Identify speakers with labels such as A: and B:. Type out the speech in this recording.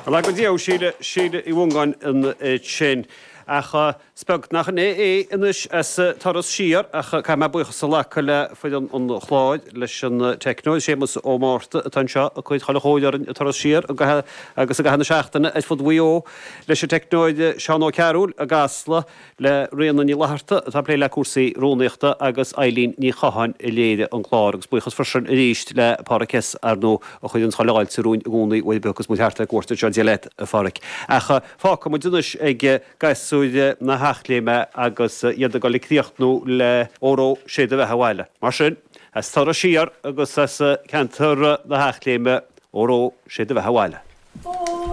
A: Bhuel, go deo, Síle, Síle Uí Mhongáin ansin. Ach is beag nach in é é anois as turas siar, ach caithfidh mé buíochas a ghlacadh le foireann an chláir, leis an teicneoir Séamus Ó Márta atá anseo ag cur chuile chóir orainn ag turas siar agus i gcaitheamh na seachtaine ar fud Mhaigh Eo, leis an teicneoir Seán Ó Cearúil i gCasla, le Ríona Ní Fhlatharta atá ag plé le cúrsaí rúnaíochta agus Eileen Ní Chatháin a léirigh an clár agus buíochas freisin arís le Páraic S. ar ndóigh a chuireann chuile fháilte romhainn i gcónaí uair ar bith a thiocfas muid thart ar cuairt anseo. Dia leat a Pháraic. Ach fágfaidh muid anois ag gasúir na hEachléime agus iad ag dul ag críochnú le Óró Sé do Bheatha Abhaile. Mar sin, as turas siar agus as ceantar na hEachléime, Óró Sé do Bheatha Abhaile.